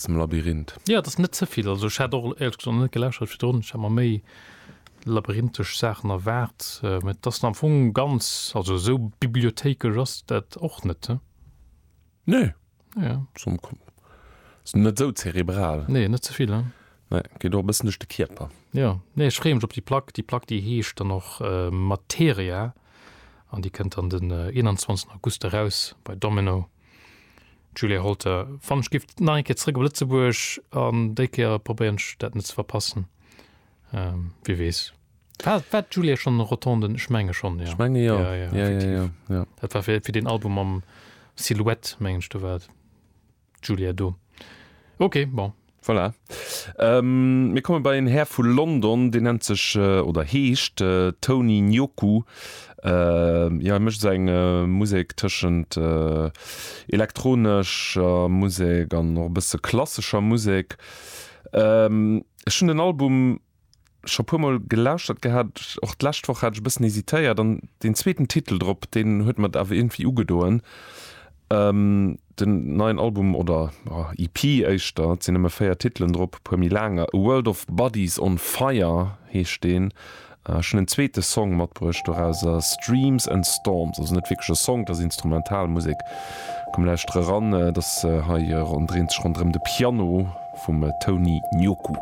Zum Labyrinth. Jo, et ass net ze vill. Also ech hat och éierlech gesot net gelauschtert virdrun. Ech hat mer méi labyrinthesch Saachen erwaart. Mä et ass am Fong ganz, also esou bibliothéikesch ass dat och net, he? Nee. Ja. Ass net esou zerebral. Nee, net ze vill, he? Nee, geet och e bëssen duerch de Kierper. Jo, nee, ech freeë mech op déi Plack. Déi Plack, déi heescht dann och Materia an déi kënnt dann den 21 August eraus bei Domino. Julia Holter, Wann ech giff nach eng Kéier zréck op Lëtzebuerg an déi Kéier probéieren ech dat net ze verpassen. Wie weess. War, war d'Julia schonn an Rotonden? Ech menge schonn, jo. Ech menge jo. Ja, ja, effektiv. Ja, ja, ja. Dat war fir, fir deen Album mam Silhouette, mengen ech, do war d'Julia do. Ok, bon. Voilà. Mir komme bei en Här vu London, deen nennt sech oder heescht Tony Nyoku. Jo, hie mécht esou eng Musek tëschent elektronescher Musek an och e bësse klassescher Musek. Ech hunn den Album scho puer mol gelauschtert gehat, och d'lescht Woch hat ech e bëssen hesitéiert an deen zweeten Titel drop, deen huet mer et awer iergendwéi ugedoen. Den neien Album, oder EP éischter, et sinn nëmme 4 Titelen drop, e puer méi laanger, A World of Bodies on Fire heescht deen. Ech hunn en zweete Song matbruecht dorauser, Streams and Storms, also net wierklech e Song, et ass Instrumentalmusek. Komm lauschtere ran, et ass hei, dréint sech ronderëm de Piano vum Tony Nyoku.